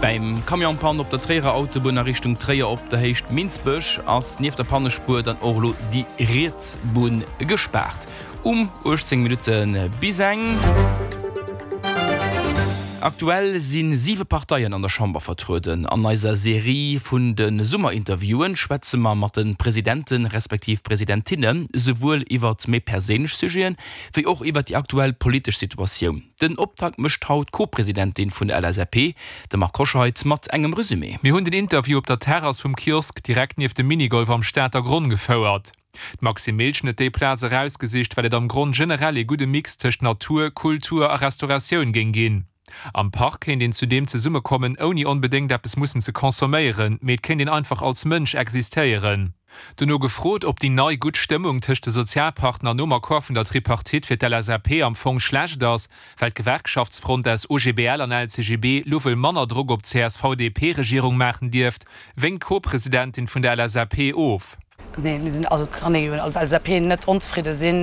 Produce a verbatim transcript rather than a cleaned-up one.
Beim Camionspann op der Tréierer Autobunn a Richtung Tréier op der Héicht Minsbech ass nieft der Pannespuer dann och elo déi riets Bunn gespaart. Um uechtzéng Minutte bis eng. Aktuell si siwe Parteien an der Chamber vertrueden. An eiser Serie vun de Summerinterviewen schwätze mer mat de Presidenten, respektiv Presidentinne souwuel iwwer méi perséinlech Sujeten, wéi och iwwer déi aktuell politesch Situatioun. Den Optakt mécht haut d'Co-Presidentin vun der L S A P, de Marc Hoscheid, mat engem Resumé. Mir hunn den Interview op der Terrass vum Kiosk direkt nieft dem Minigolf am Stater Gronn gefouert. D'Maxime Miltgen huet déi Plaz erausgesicht, well et am Gronn generell ee gudde Mix tëscht Natur, Kultur a Restauratioun géing ginn. Am Park kéint een zudeem zesummekommen, ouni onbedéngt eppes mussen ze consomméieren, mee et kéint een einfach als Mënsch existéieren. Duerno gefrot, ob déi nei gutt Stëmmung tëscht de Sozialpartner nom Accord vun der Tripartite fir d'L S A P am Fong schlecht ass, well d'Gewerkschaftsfront aus O G B L an L C G B lo wuel manner Drock op d'C S V D P-Regierung maachen dierft, wénkt d'Co-Presidentin vun der L S A P of. Nee, mir sinn also kann ee jo als L S A P net onzefridde sinn.